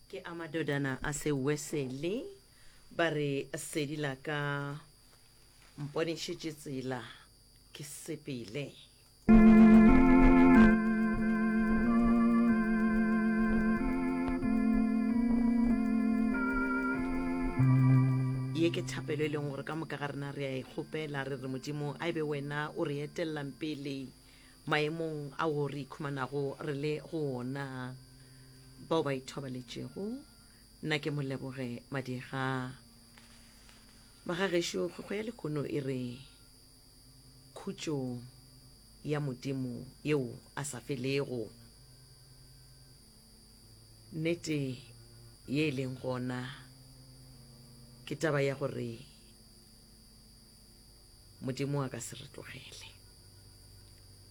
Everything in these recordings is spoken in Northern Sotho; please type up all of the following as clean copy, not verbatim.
Ke a madodana a Sewesele ba re sedi la ka mponešetše tsela ke sepele. Ye ke thapelo e leng gore ka moka ga rena re a e kgopela, re re Modimo a e be wena o re etellang pele maemong ao re ikhumanago re le go ona. Bao ba ithobaletšego, nna ke Moleboge Madiega. Magagešo, kgwekgwe ya lehono e re khutšo ya Modimo yeo a sa felego. Nnete ye e leng gona ke taba ya gore Modimo a ka se re tlogele.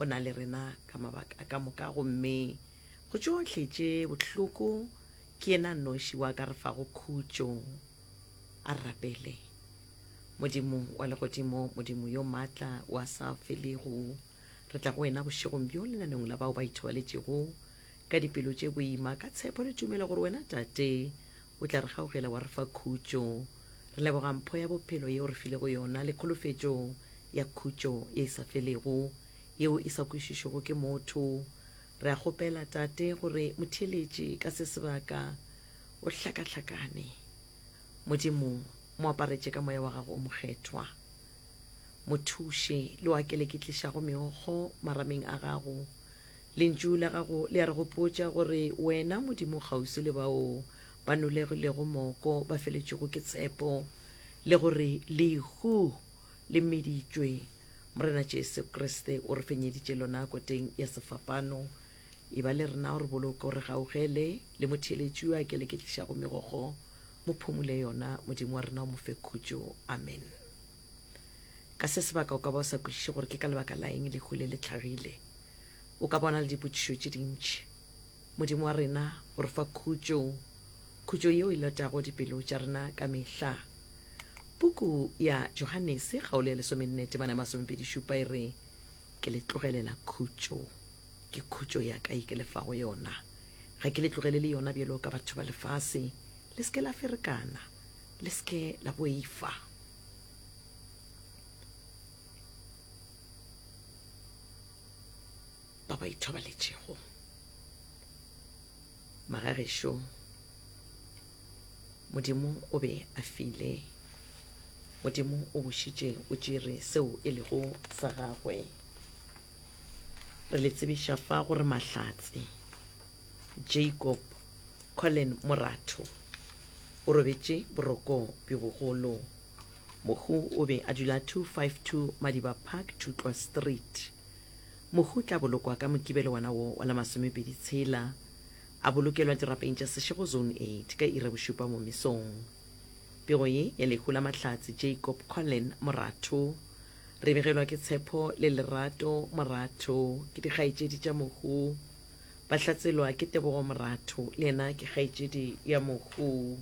O na le rena ka mabaka ka moka gomme go tšohle tše bohloko ke yena noši wa ka re fago khutšo. A re rapele. Modimo wa legodimo, Modimo yo maatla wa sa felego, re tla go wena bošegong bjo lenaneong la bao ba ithobaletšego ka dipelo tše boima, ka tshepo le tumelo gore wena Tate o tla re gaugela wa re fa khutšo. Re leboga mpho ya bophelo yeo re filego yona le kholofetšo ya khutšo ye e sa felego yeo e sa kwešišwego ke motho. Re a kgopela, Tate, gore motheeletši ka se sebaka o hlakahlakane. Modimo, mo aparetše ka Moya wa Gago o Mokgethwa. Mo thuše le o a keleketlišago meokgo marameng a Gago. Lentšu la Gago le a re gopotša gore Wena, Modimo, o kgauswi le bao ba nolegilego moko, ba feletšwego ke tshepo, le gore lehu le meditšwe. Morena Jesu Kriste o re fenyeditše lona koteng ya sefapano. Eba le rena, o re boloke, o re gaugele, le motheeletši yo a keleketlišago megokgo, mo phumule yona, Modimo wa rena o mo fe khutšo. Amen. Ka se sebaka o ka ba o sa kwešiše gore ke ka lebaka la eng lehu le le hlagile. O ka bona le dipotšišo tše dintši. Modimo wa rena o re fa khutšo, khutšo yeo e lotago dipelo tša rena ka mehla. Puku ya Johanese kgaolo ya lesomenne temana ya masomepedi-šupa e re, Ke le tlogelela khutšo, ke khutšo ya ka ye ke le fago yona. Ga ke le tlogelele yona bjalo ka batho ba lefase. Le se ke la ferekana, le se ke la boifa. Ba ba ithobaletšego. Magagešo, Modimo o be a file. Modimo o bušitše o tšere seo e lego sa gagwe. Re le tsebiša fa gore Mahlatse Jacob Colin Moratho o robetše boroko bjo bogolo. Mohu o be a dula 252 Madiba Park, Thutlwa Street. Mohu o tla bolokwa ka Mokibelo wona wo wa la masomepedi tshela, a bolokelwa dirapeng tša Seshego Zone 8 ka iri ya bošupa mo mesong. Pego ye ya lehu la Mahlatse Jacob Colin Moratho re begelwa ke Tshepo le Lerato Moratho, ke dikgaetšedi tša mohu. Ba hlatselwa ke Tebogo Moratho, le yena ke kgaetšedi ya mohu.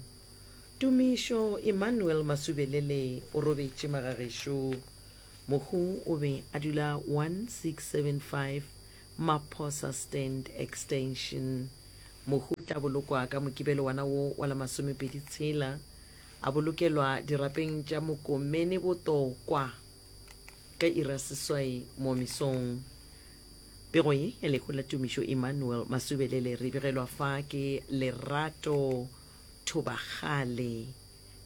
Tumišo Emmanuel Masubelele o robetše magagešo. Mohu o be a dula 1675 Maphosa Stand Extension. Mohu o tla bolokwa ka Mokibelo wona wo wa la masomepedi tshela, a bolokelwa dirapeng tša Mokomene Botokwa ka iri ya seswai mo mesong. Pego ye ya lehu la Tumišo Emmanuel Masubelele re e begelwa fa ke Lerato Thobakgale.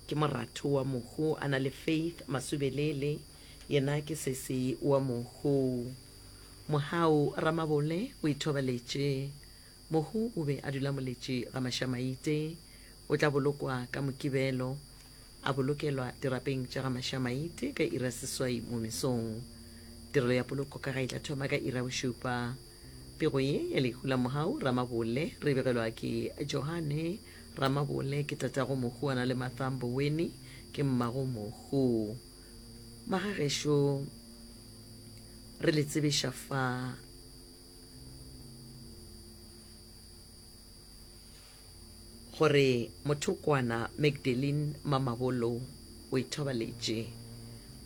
Ke moratho wa mohu a na le Faith Masubelele, yena ke sesi wa mohu. Mohau Ramabole o ithobaletše. Mohu o be a dula Moletši ga Mašamaite. O tla bolokwa ka Mokibelo, a bolokelwa dirapeng tša ga Mašamaite ka iri ya seswai mo mesong. Tirelo ya poloko ka ga e tla thoma ka iri ya bošupa. Pego ye ya lehu la Mohau Ramabole re e begelwa ke Johane Ramabole, ke tatago mohu a na le Martha Mboweni, ke mmago mohu. Magagešo re le tsebiša fa gore mothokwana Magdalene Mamabolo o ithobaletše.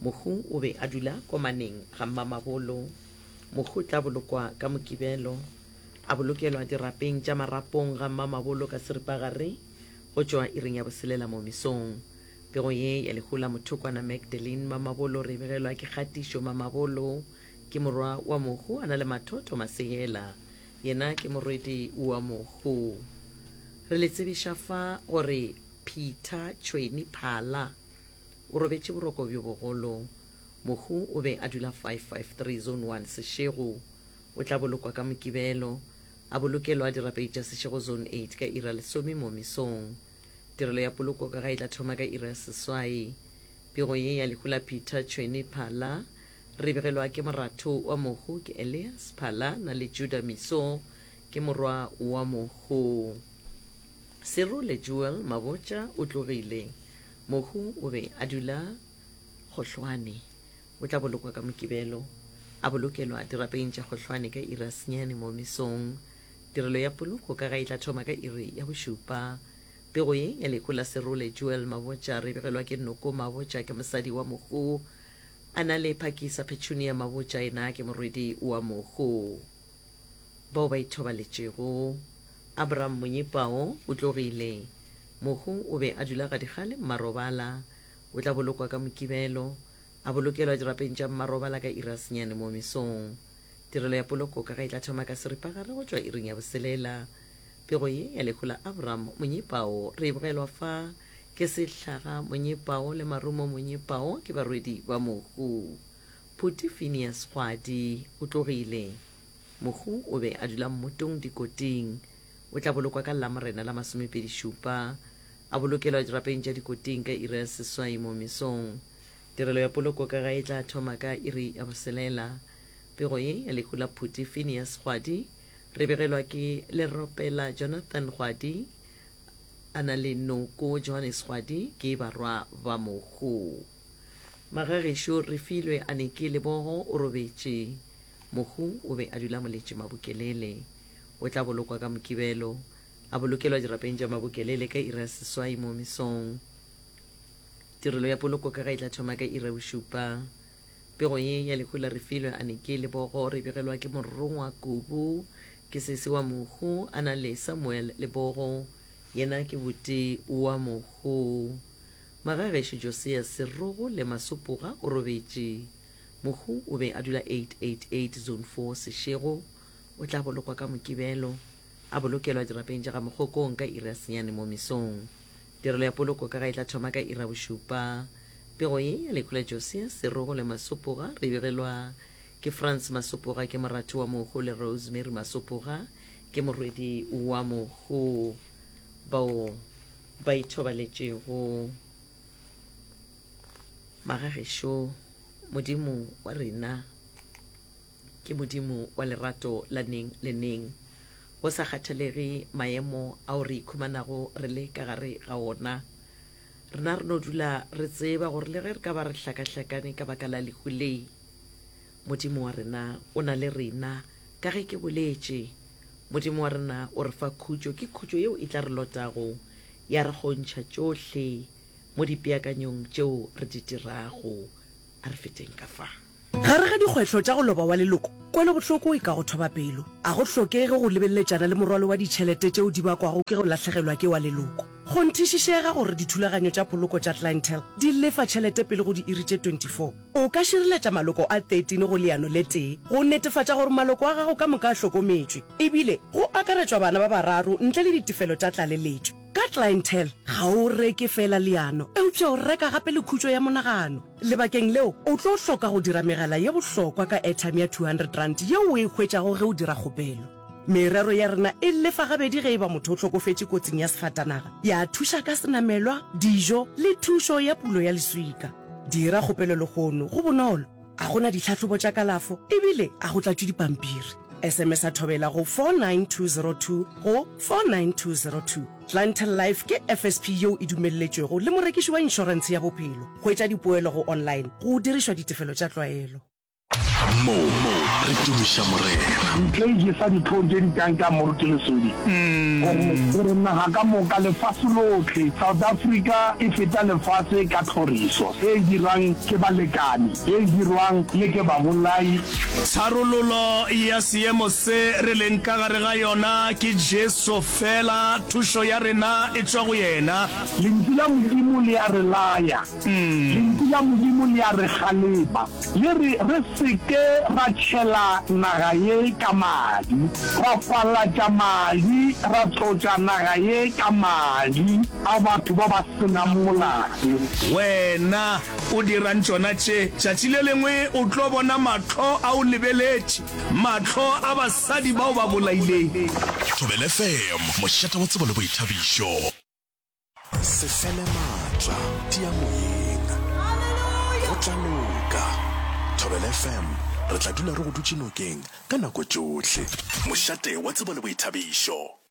Mohu o be a dula komaneng ga Mmamabolo. Mohu o tla bolokwa ka Mokibelo, a bolokelwa dirapeng tša marapong ga Mmamabolo ka seripagare. go tšwa iring ya boselela mo mesong. Pego ye ya lehu la mothokwana Magdeline Mamabolo re e begelwa ke Kgatišo Mamabolo, ke morwa wa mohu a na le Mathotho Masehela, yena ke morwedi wa mohu. Re le tsebiša fa gore Peter Tšhweni Phala o robetše boroko bjo bogolo. Mohu o be a dula 553 Zone 1 Seshego. O tla bolokwa ka Mokibelo, a bolokelwa dirapedi tša Seshego Zone 8 ka iri ya lesome mo mesong. Tirelo ya poloko ka ga e tla thoma ka iri ya seswai. Pego ye ya lehu la Peter Tšhweni Phala re begelwa ke moratho wa mohu ke Elias Phala na le Judah Miso ke morwa wa mohu. Serole Jewel Mabotja o tlogile. Mohu o be a dula Kgohlwane. O tla bolokwa ka Mokibelo, a bolokelwa dirapeng tša Kgohlwane ka iri ya senyane mo mesong. Tirelo ya poloko ka ga e tla thoma ka iri ya bošupa. Pego ye ya lehu la Serole Joel Mabotja re begelwa ke Noko Mabotja ke mosadi wa mohu. A na le Phakisa Petunia Mabotja yena ke morwedi wa mohu. Bao ba ithobaletšego. Abraham Monyepao o tlogile. Mohu o be a dula Gadikgale Mmarobala. O tla bolokwa ka Mokibelo, a bolokelwa dirapeng tša Mmarobala ka iri ya senyane mo mesong. Tirelo ya poloko ka ga e tla thoma ka seripagare go tšwa iring ya boselela. Pego ye ya lehu la Abram Monyepao re e bogelwa fa ke Sehlaga Monyepao le Marumo Monyepao ke barwedi ba mohu. Phuti Phineas Kgwadi o tlogile. Mohu o be a dula mmotong Dikoting. O tla bolokwa ka Lamorena la masomepedišupa, a bolokelwa dirapeng tša Dikoting ka iri ya seswai mo mesong. Tirelo ya poloko ka ga e tla thoma ka iri ya boselela. Pego ye ya lehu la Phuti Phineas Kgwadi re begelwa ke Leropela Jonathan Kgwadi a na le Noko Johannes Kgwadi ke barwa ba mohu. Magagešo Refilwe Aneke Lebogo o robetše. Mohu o be a dula Moletše Mabokelele. O tla bolokwa ka Mokibelo, a bolokelwa dirapeng tša Mabokelele ka iri ya seswai mo mesong. Tirelo ya poloko ka ga e tla thoma ka iri ya bošupa. Pego ye ya lehu la Refilwe Aneke Lebogo re begelwa ke Morongwa Kubu, ke sesi wa mohu, a na le Samuel Lebogo, yena ke buti wa mohu. Magagešo Josias Serogo le Masopoga o robetše. Mohu o be a dula 888 Zone 4 Seshego. O tla bolokwa ka Mokibelo, a bolokelwa dirapeng tša ga Mokgokong ka iri ya senyane mo mesong. Tirelo ya poloko ka ga e tla thoma ka iri ya bošupa. Pego ye ya lehu la Josias Serogo le Masopoga re begelwa ke Frans Masopoga ke moratho wa mohu le Rosemary Masopoga ke morwedi wa mohu bao ba ithobaletšego. Magagešo, Modimo wa rena ke Modimo wa lerato la neng le neng. Go sa kgathalege maemo ao re ikhumanago re le ka gare ga ona, rena re no dula re tseba gore le ge re ka ba re hlakahlakane ka baka la lehu le, Modimo wa rena o na le rena. Ka ge ke boletše, Modimo wa rena o re fa khutšo, ke khutšo yeo e tla re lotago ya re kgontšha tšohle mo dipeakanyong tšeo re di dirago. A re feteng ka fa. Gare ga dikgwehlo tša go loba wa leloko, kwelobohloko e ka go thoba pelo. A go hlokege go lebeleletšana le morwalo wa ditšhelete tšeo di bakwago ke go lahlegelwa ke wa leloko. Kgonthišišega gore dithulaganyo tša poloko tša Clientele di lefa tšhelete pele go diiri tše 24. O ka šireletša maloko a 13 go leano le tee go netefatša gore maloko a gago ka moka a hlokometšwe, ebile go akaretšwa bana ba bararo ntle le ditefelo tša tlaleletšo. Ka Clientele, ga o reke feela leano, eupša o reka gape le khutšo ya monagano. Lebakeng leo, o tlo hloka go dira megala ye bohlokwa ka airtime ya R200 yeo o e hwetšago ge o dira kgopelo. Merero ya rena e lefa gabedi ge e ba motho o hlokofetše kotsing ya sefatanaga, ya thuša ka senamelwa, dijo le thušo ya pulo ya leswika. Dira kgopelo lehono, go bonolo, ga go na ditlhahlobo tša kalafo ebile ga go tlatšwe dipampiri. SMS-a Thobela go 49202 go 49202. Clientele Life ke FSP yeo e dumelletšwego le morekiši wa inšorentshe ya bophelo. Hwetša dipoelo go online go dirišwa ditefelo tša tlwaelo. Mo re tumiša Morena. Ntle e jesa dihlong tše di kang ka Moruti Lesodi gore, gore naga ka moka, lefase lohle, South Africa e feta lefase ka tlhoriso e e dirwang ke balekane, ye e dirwang le ke babolai. Tharololo ya seemo se re leng ka gare ga yona ke Jesu feela, thušo ya rena e tšwa go yena. Lentšu la Modimo le a re laya. Lentšu la Modimo le a re kgalema, le re re se ke ra tšhela naga ye ka madi, ra falatša madi, ra tlotša naga ye ka madi a batho ba ba se nang molato. Wena o dirang tšona tše? Tšatši le lengwe o tlo bona mahlo a o lebeletše, mahlo a basadi ba o ba bolaileng. Thobela FM, mošate wa tsebo le boithabišo. Se fele maatla, tia moyeng. Go tla loka. Thobela FM, re tla dula re go dutše nokeng ka nako tšohle. Mošate wa tsebo le boithabišo.